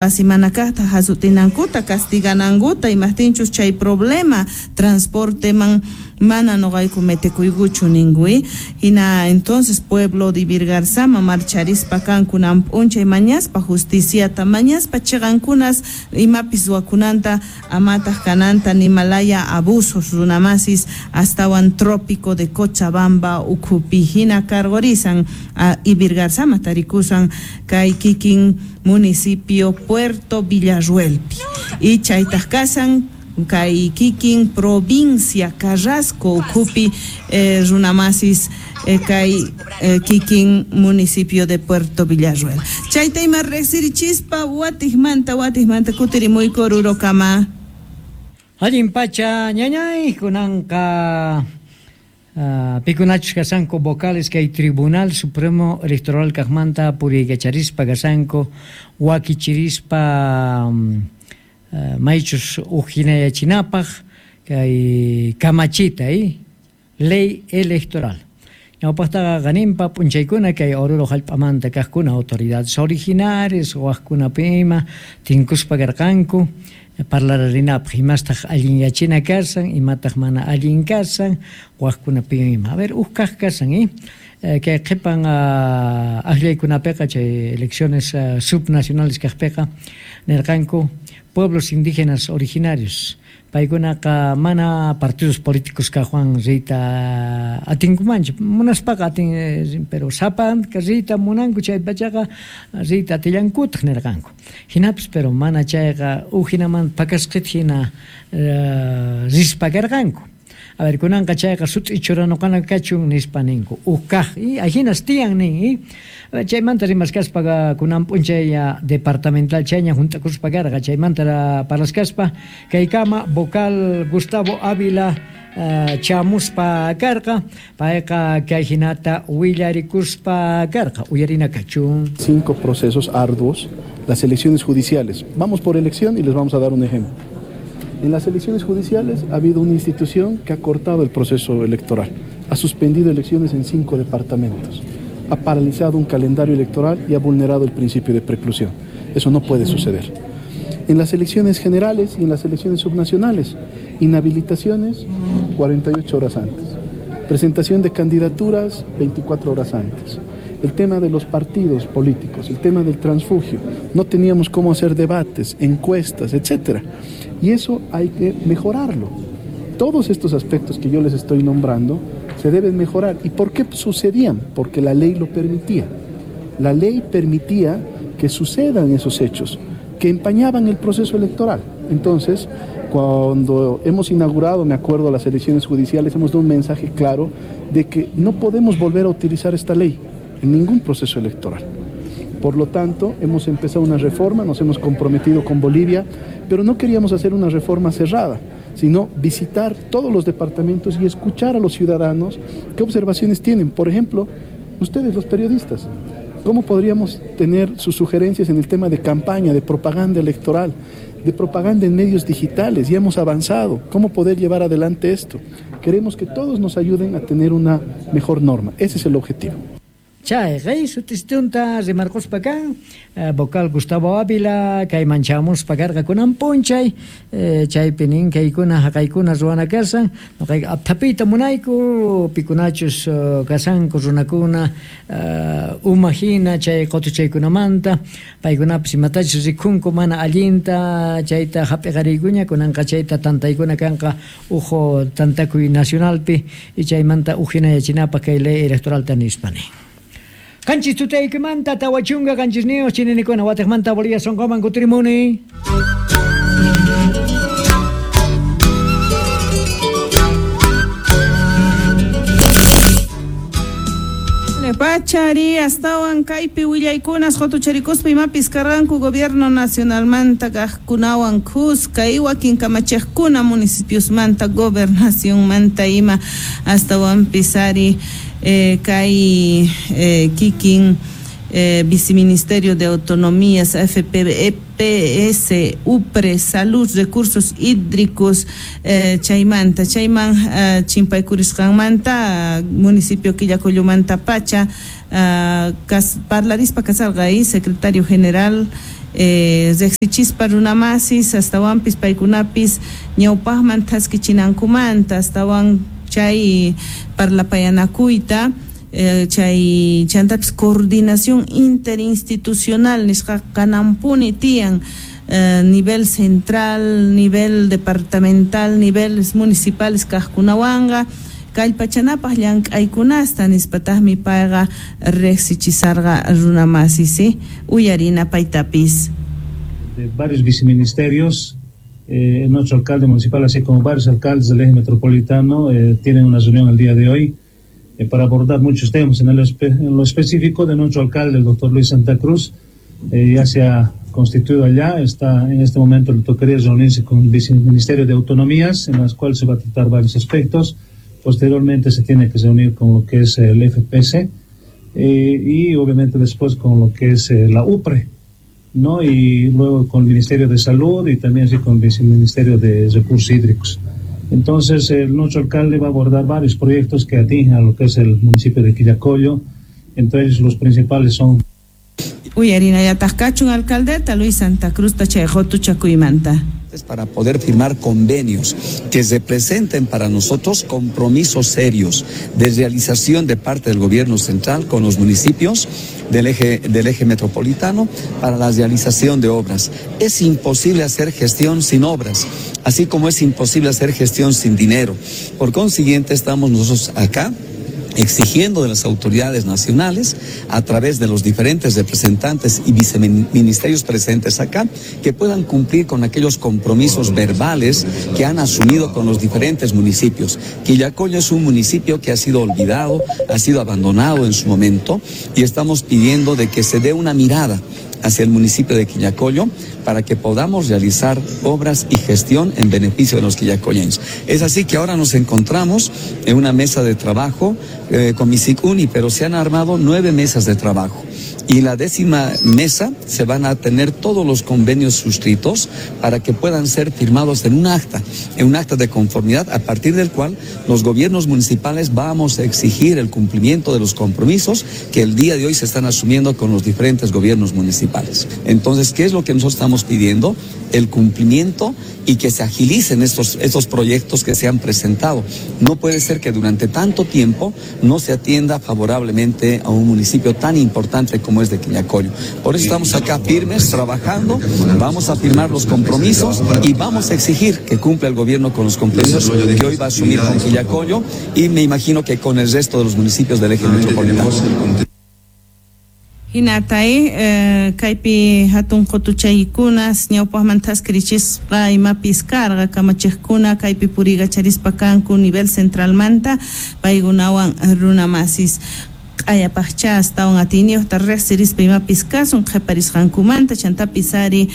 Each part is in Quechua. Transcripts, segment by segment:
Qasi mana kaqta hasutinankuta, castiganankuta, imaqtinchus chay problema transporteman mana nuqayku metekuykuchu ninku. Hina entonces pueblo de Ivirgarzama marcharispa kankunan p'unchay mañaspa justiciata, mañaspa chiqankunas imapis ruwakunanta amataq kananta nimalaya abusos runamasis astawan trópico de Cochabamba ukhupi hina karqurisan Ivirgarzama tarikusan kay kikin municipio Puerto Villarruelpi y chaytaq kasan kay kikin provincia Carrasco ukhupi runamasis kay kikin municipio de Puerto Villarruel. Chayta ima riqsirichispa watiqmanta kutirimuyku Orurokama. Allin pacha ñañay kunanqa pikunachus kasanku vocales kay Tribunal Supremo Electoral kaqmanta puriykacharispa kasanku wakichirispa maychus ujinayachinapaq kay kamachita ley electoral. Ñawpaqtaqa qaninpa p'unchaykuna kay Oruro hallp'amanta kaqkuna autoridades originarias waqkunapima tinkuspa karqanku parlararinapaq imastaq allin yachina kasan imataq mana allin kasan waqkunapima. A ver, uj kaq kasan kay qhipan akllaykunapiqa chay elecciones subnacionales kaqpiqa nirqanku pueblos indígenas originarios paykunaqa mana partidos políticos kaqwan riyta atinkumanchu munaspaqa atin pero sapanka riyta munanku chay pachaqa riyta atillankutaq nirqanku hinapis pero mana chayqa uj hinamanta pakasqita hina rispa karqanku. A ver, kunanqa chayqa sut'i churanuqana kachun nispa ninku uj kaq ahinas tiyan nin chaymanta rimaskaspa kunan p'unchay departamental chayña hunt'akuspa karqa chaymanta parlaskaspa kaykama vocal Gustavo Ávila chamuspa karqa payqa kay hinata willarikuspa karqa uyarina kachun. 5 procesos arduos, las elecciones judiciales. Vamos por elección y les vamos a dar un ejemplo. En las elecciones judiciales ha habido una institución que ha cortado el proceso electoral, ha suspendido elecciones en 5 departamentos, ha paralizado un calendario electoral y ha vulnerado el principio de preclusión. Eso no puede suceder. En las elecciones generales y en las elecciones subnacionales, inhabilitaciones 48 horas antes, presentación de candidaturas 24 horas antes. El tema de los partidos políticos, el tema del transfugio, no teníamos cómo hacer debates, encuestas, etcétera. Y eso hay que mejorarlo. Todos estos aspectos que yo les estoy nombrando se deben mejorar. ¿Y por qué sucedían? Porque la ley lo permitía. La ley permitía que sucedan esos hechos, que empañaban el proceso electoral. Entonces, cuando hemos inaugurado, me acuerdo, las elecciones judiciales, hemos dado un mensaje claro de que no podemos volver a utilizar esta ley en ningún proceso electoral. Por lo tanto, hemos empezado una reforma, nos hemos comprometido con Bolivia, pero no queríamos hacer una reforma cerrada, sino visitar todos los departamentos y escuchar a los ciudadanos qué observaciones tienen. Por ejemplo, ustedes, los periodistas, ¿cómo podríamos tener sus sugerencias en el tema de campaña, de propaganda electoral, de propaganda en medios digitales? Ya hemos avanzado. ¿Cómo poder llevar adelante esto? Queremos que todos nos ayuden a tener una mejor norma. Ese es el objetivo. Chay, sutistunta rimarquspa kan vocal Gustavo Ávila kayman chamuspa karqa kunan p'unchay chaypi nin kaykuna haqaykuna ruwana kasan nuqayqa apthapiyta munayku pikunachus kasanku runakuna uma hina chay qutuchaykunamanta paykunapis imatachus rikhunku mana allinta chayta hap'iqariykuña kunanqa chayta tantaykuna kanqa uj tantakuy nacionalpi y chaymanta uj hinayachinapaq kay ley electoralta nispa nin. Qanchis tutaykimanta tawachunka qanchisniyuq chininikuna watiqmanta Bolivia sunquman kutirimuni. Pachari astawan kaypi willaykunas qutucharikuspa imapis karqanku gobierno nacionalmanta kaqkunawan kuska y wakin kamachiqkuna municipiosmanta gobernacionmanta ima astawanpis ari kay kikin Viceministerio de Autonomías, FPEPS, UPRE, Salud, Recursos Hídricos, chaymanta, chayman chimpaykurisqanmanta, municipio Quillacollumanta Pacha, parlarispa kasarqa ahí, secretario general Riqsichispa runamasis astawanpis paykunapis ñawpaqman thaskichinankumanta astawan chay parlapayanakuyta chay chantapis coordinación interinstitucional nisqa kanampuni tiyan nivel central, nivel departamental, niveles municipales kaqkunawanqa kallpachanapaq llank'aykunasta nispataqmi payqa riqsichisarqa runamasis uyarina paytapis. De varios viceministerios, nuestro alcalde municipal, así como varios alcaldes del eje metropolitano, tienen una reunión el día de hoy para abordar muchos temas. En lo específico de nuestro alcalde, el doctor Luis Santa Cruz, ya se ha constituido allá, está en este momento le tocaría reunirse con el viceministerio de Autonomías, en las cuales se va a tratar varios aspectos. Posteriormente se tiene que reunir con lo que es el FPC y obviamente después con lo que es la UPRE, ¿no? Y luego con el Ministerio de Salud y también así con el Viceministerio de Recursos Hídricos. Entonces, nuestro alcalde va a abordar varios proyectos que atingen a lo que es el municipio de Quillacollo. Entre ellos los principales son... Uyarina yataqkachun alcaldeta Luis Santa Cruz chay qutuchakuymanta. Para poder firmar convenios que representen para nosotros compromisos serios de realización de parte del gobierno central con los municipios del eje metropolitano para la realización de obras. Es imposible hacer gestión sin obras, así como es imposible hacer gestión sin dinero. Por consiguiente, estamos nosotros acá exigiendo de las autoridades nacionales, a través de los diferentes representantes y viceministerios presentes acá, que puedan cumplir con aquellos compromisos verbales que han asumido con los diferentes municipios. Quillacollo es un municipio que ha sido olvidado, ha sido abandonado en su momento, y estamos pidiendo de que se dé una mirada hacia el municipio de Quillacollo para que podamos realizar obras y gestión en beneficio de los quillacolleños. Es así que ahora nos encontramos en una mesa de trabajo con Misicuni, pero se han armado 9 mesas de trabajo. Y la 10ª mesa se van a tener todos los convenios suscritos para que puedan ser firmados en un acta de conformidad, a partir del cual los gobiernos municipales vamos a exigir el cumplimiento de los compromisos que el día de hoy se están asumiendo con los diferentes gobiernos municipales. Entonces, ¿qué es lo que nosotros estamos pidiendo? El cumplimiento y que se agilicen estos proyectos que se han presentado. No puede ser que durante tanto tiempo no se atienda favorablemente a un municipio tan importante como es de Quillacollo. Por eso estamos acá firmes, trabajando, vamos a firmar los compromisos y vamos a exigir que cumpla el gobierno con los compromisos que hoy va a asumir con Quillacollo y me imagino que con el resto de los municipios del eje metropolitano. Hinatay, kaypi hatun qutuchaykunas ñawpaqman thaskirichisqa imapis karqa kamachiqkuna kaypi purigacharispa kanku nivel centralmanta paykunawan runamasis q'ayapaqcha astawan atiyniyuqta riqsirispa imapis kasun qhiparisqankumanta chantapis ari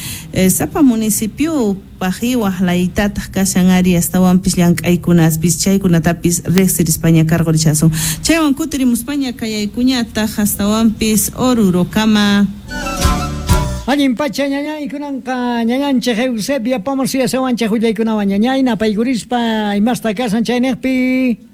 sapa municipio pajiwaq laytataq kashan ari astawanpis llank'aykunaspis chaykunatapis riqsirispaña karqurichasun chaywan kutirimuspaña kayaykuñataq astawanpis Orurokama. Allin pacha ñañay kunanqa ñañanchik Eusebia Pomos yasawanchik willaykunawan ñañay napaykurispa imasta kasan chayniqpi.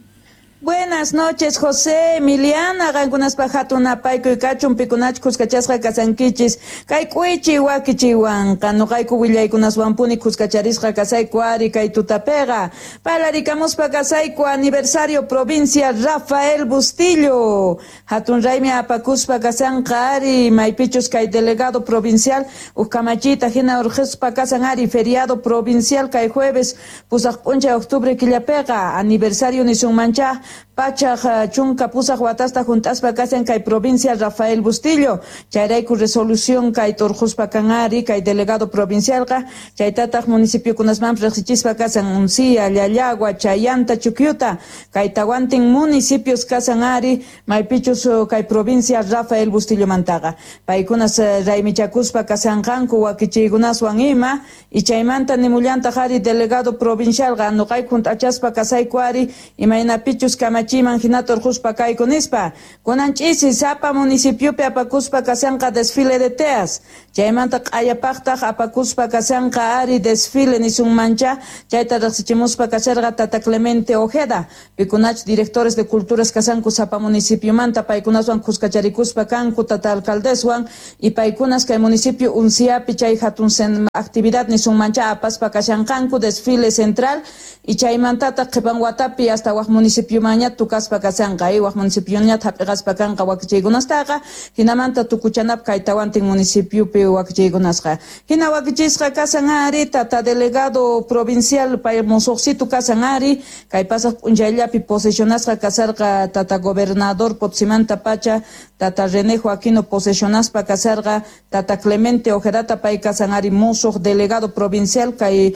Buenas noches, José, Emiliana, qankunaspa hatun napaykuy kachun pikunach kuskachasqa kasankichis kay k'uichi wakichiwanqa nuqayku willaykunaswanpuni kuskacharisqa kasayku ari kay tutapiqa parlarikamuspa kasayku aniversario provincia Rafael Bustillo hatun raymi apakuspa kasanqa ari maypichus kay delegado provincial uj kamachita hina urqispa kasan ari feriado provincial kay jueves pusaq p'unchay octubre killapiqa aniversario nisunmancha pachaq chunka pusaq watasta juntaspa kasan kay provincia Rafael Bustillo chayrayku resolución kay turquspa kan ari kay delegado provincialqa chaytataq municipiokunasmanpis riqsichispa kasan Uncía, Llallagua, Chayanta, Chukyuta kay tawantin municipios kasan ari maypichus kay provincia Rafael Bustillo mantaqa paykunas raymichakuspa kasanqanku wakichiykunaswan ima y chaymanta nimullantaq ari delegado provincialqa nuqayku junt'achaspa kasayku ari imaynapichus kamachi kamachiman hinata urquspa kayku nispa. Kunan ch'isi sapa municipiopi apakuspa kashanqa desfile de teas, chaymanta q'ayapaqtaq apakuspa kashanqa ari desfile nisunmancha, chayta riqsichimuspa kasharqa tata Clemente Ojeda, pikunach directores de culturas kashanku sapa municipiomanta, paykunaswan kuskacharikuspa kanku tata alcaldeswan y paykunas kay municipio Unciapi chay hatun actividad nisunmancha apaspa kashanqanku desfile central y chaymantataq qhipan watapi hasta waq municipiomanña tukaspa kashanqa waq municipioña hap'iqaspa kanqa wakichiykunastaqa hinamanta tukuchanap kay tawantin municipiopi wakichiykunasqa hina wakichisqa kasan ari tata delegado provincial pay musuqsitu kasan ari kay pasaq p'unchayllapi posesionasqa kasarqa tata gobernador Potsimanta pacha tata René Joaquino posesionaspa kasarqa tata Clemente Ojedata pay kasan ari musuq delegado provincial kay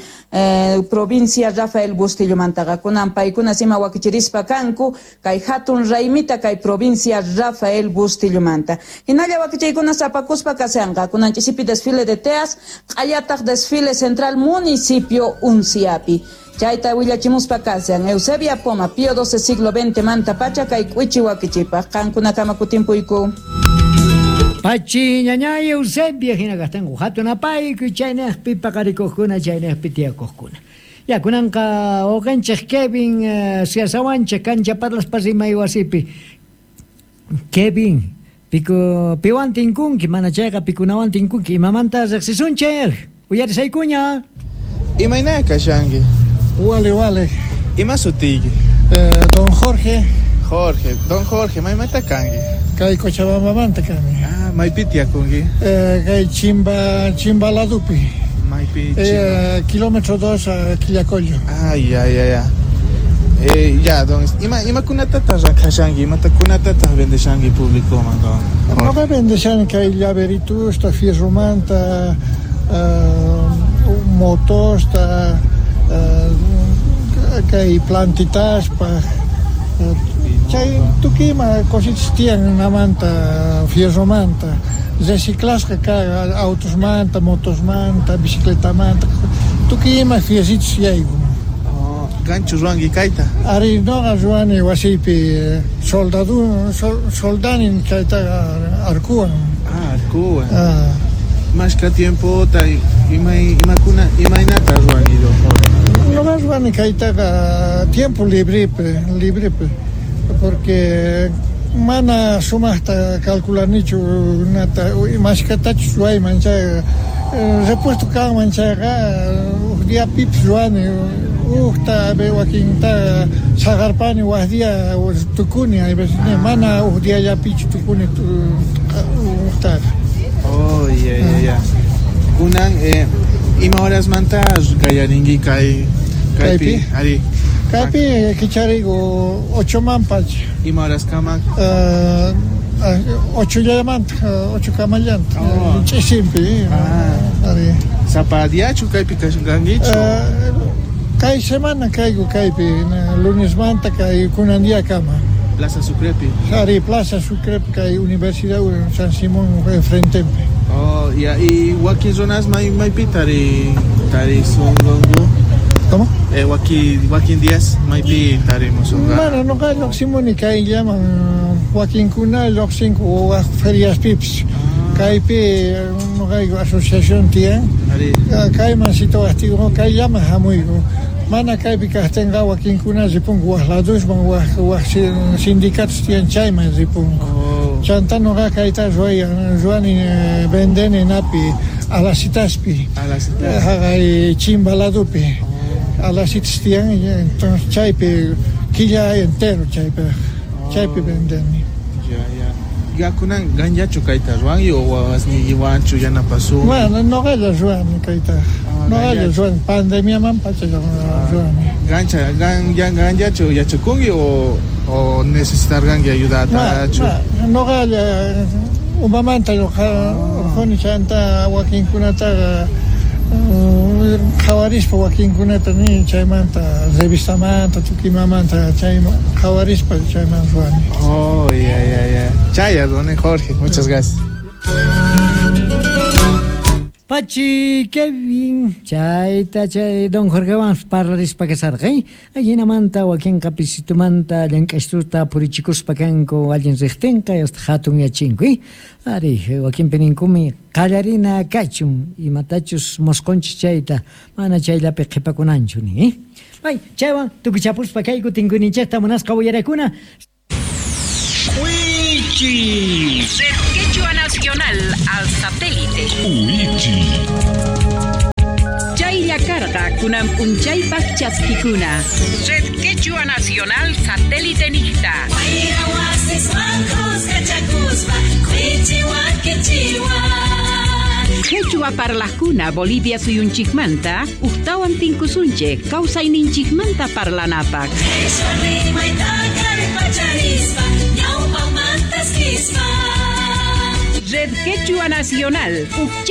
provincia Rafael Bustillo mantaqa kunan paykunas ima wakichirispa kanku kay hatun raymita kay provincia Rafael Bustillo manta hinalla wakichiykunas apakuspa kasanqa kunan ch'isipi desfile de teas q'ayataq desfile central municipio Unciapi chayta willachimuspa kasan Eusebia Poma Pío XII siglo XX manta pacha kay k'uichi wakichipaq qankunakama kutimpuyku. Pachi ñañay Eusebia hina kastanku hatun apayku chaynaqpi paqarikuqkuna chaynaqpi tiyakuqkuna. Ya kunanqa uqanchik Kevin siasawanchik kancha parlaspa rimay wasipi. Kevin, piwan tinkunki mana chayqa pikunawan tinkunki imamanta riqsisunchik uyarisaykuña. Imayna kashanki? Wale wale. Ima sutiyki? Don Jorge. Jorge, don Jorge, maymanta kanki? Kay Cochabambamanta kani. Ah, maypi tiyakunki? Kay Chimba ladupi. Maypi Kilómetro 2 a Quillacollo. Ah, ya, ya, ya. Ya, don, imakunatataq rakhashanki, imatakunatataq vendeshanki públicoman, don? Noqa vendeshani kay llaveritusta, fierromanta, motosta, kay plantitaspa, chay tukima cositas tiyan namanta, fierromanta, reciclasqa ka autosmanta, motosmanta, bicicletamanta, tukima fierritos yaykun. Oh, ganchu ruwanki kayta? Ari noqa ruwani wasiypi soldanin chaytaqa arkuwan. Ah, arkuwan. Ah. Mashka tiempota imakuna imaynata ruwanki don Jorge? Noqa ruwani kaytaqa tiempo libre porque mana sumaqta calculanichu nata mashkatachus ruwayman chayqa repuesto kanman chayqa huk diapipis ruwani hukta wakinta saqarpani wak dia tukuni hay veces mana huk diallapichu tukuni huktaqa. Oh, ya, ya, ya. Kunan ima horasmanta qallarinki kay kaypi? Ari. Kaypi kicharigu 8 manpacha. Ima horaskama? 8 llamanta, 8 kamallanta. Ch'isimpi. Ari. Sapa diachu kaypi kashankichu? Kay semana kayku kaypi, lunesmanta kay kunan diakama. Plaza Sucrepi. Ari, Plaza Sucrepi kay Universidad San Simón frentepi. Oh, ya, y wakin runas maypi tari sunqanku? ¿Cómo? Wakin días maypi tarimusunqa. Mana noqa lluqsimuni kayllaman wakinkuna lluqsinku waq feriaspipis. Kaypi noqayku asociación tiyan. Kayman situwaqtiyku kayllaman hamuyku. Mana kaypi kaqtinqa wakinkuna ripunku waq ladusman waq sindicatos tiyan chayman ripunku. Chanta noqa kayta ruwani vendeni napi Alasitaspi. Alasitas. Haqay Chimba ladupi. Alasitas tiyan, entonces chaypi killa entero chaypi vendeni. Ya, ya. Ya kunan ganllachu kayta ruwanki o wawasniykiwanchu yanapasunki? Bueno, noqalla ruwani kayta. Noqalla ruwani pandemiaman pacha ruwani. Ganllachu yachakunki o necesitarqanki ayudatachu? Noqalla umamanta urquni chanta wakinkunataqa qhawarispa wakinkunata nin chaymanta revistamanta tukimamanta chayman qhawarispa chayman ruwani. Oh, ya, ya, ya. Chaya, don Jorge, muchas gracias. Pachi Kevin chayta chay don Jorgewan parlarispa kasarqa ajinamanta wakinqa pisitumanta llank'ashtuta purichikuspa kanku allin riqtinqa hasta hatun yachinku ari wakinpi ninkumi qallarina kachun imatachus mosqonchis chayta mana chayllapi qhipakunanchu nin Ay, chaywan tukuchapuspa kayku tinkuninchikta munasqa uyarakuna. Wichi. Red Quechua Nacional al satélite. Wichi. Chaylla karqa kunan p'unchaypaq chaskikuna. Red Quechua Nacional satélite niqta. Quechua parlaqkuna Bolivia suyunchikmanta uqtawan tinkusunchik kawsayninchikmanta parlanapaq. Red Quechua Nacional.